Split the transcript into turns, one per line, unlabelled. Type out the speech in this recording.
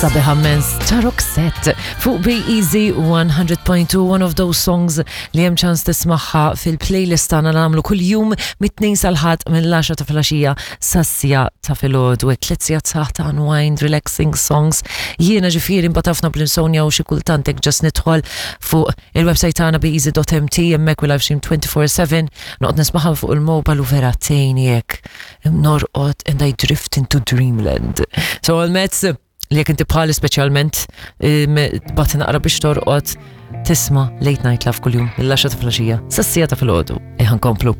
Sabiħa mens ta' Roxette fuq Be Easy 100.2 one of those songs li hemm ċans tismaħħa fil-playlist tagħna nagħmlu kuljum mit-tnejn sal-ħadd mill-10 ta' filgħaxija sas-sija ta' filgħodu hekk tliet sigħat saħ ta' unwind relaxing songs. Jiena ġifieri mbagħad ħafna bl-insomnia u xi kultant hekk ġast nidħol fuq il-website tagħna beeasy.mt hemmhekk u live stream 24/7 noqgħod nismaħħa fuq il-mobile u vera tgħinni hekk norqod and I drift into dreamland. So għal-mezz li jekk inti bħali speċjalment tbati naqra biex torqod tisma' late night love kuljum mill-10 ta' filgħaxija sas-sija ta' filgħodu. Eħan komplu.